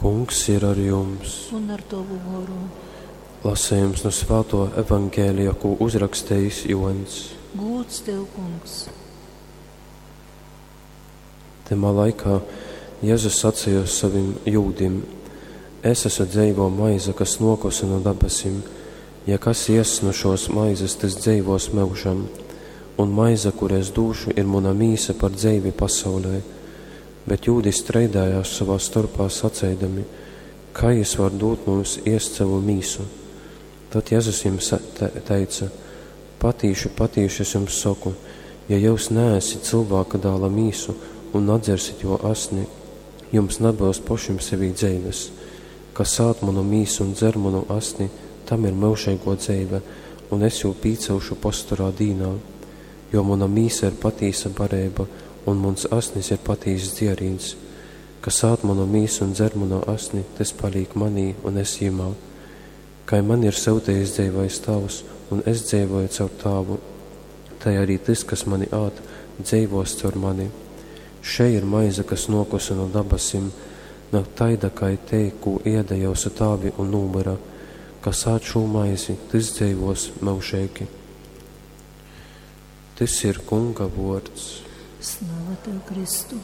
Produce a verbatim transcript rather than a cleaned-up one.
Kungs ir ar jums. Un ar tovu goru. Lasījums no Svēto evaņģēlija, ko uzrakstījis Joņs. Gūds tev, kungs. Tamā laikā Jēzus sacīja savim jūdim: Es esmu dzeivo maize, kas nokusi no dabasim. Ja kas ies no šos maizes, tas dzeivos mūžam. Un maize, kur es dūšu, ir mana mīsa par dzeivi pasaulē. Bet jūdi streidējās savā starpā saceidami, kā jis var dūt mums iest savu mīsu. Tad Jēzus jums te teica: Patīši, patīši es jums saku, ja jūs neesit cilvēka dāla mīsu un nadzersit jo asni, jums nebūs pašim sevī dzeives. Kas ād manu mīsu un dzer manu asni, tam ir mūžīgo dzeive, un es jū pīcelšu posturā dīnā. Jo mana mīsa ir patīsa barība, un mans asnis ir patīss dzierīns. Kas ād manu mīsu un dzer manu asni, tas paliek manī un es jimā. Kai man ir sūtījis dzīvais tavs, un es dzīvoju caur tāvu, tai arī tas, kas mani ād, dzīvos caur mani. Šeit ir maize, kas nokusa no dabasim, nav taida, kai te, ko ieda jūsu tāvi un numura. Kas ād šo maizi, tas dzīvos mūžīgi. Tas ir Kunga vārds. Slava tev, Kristu.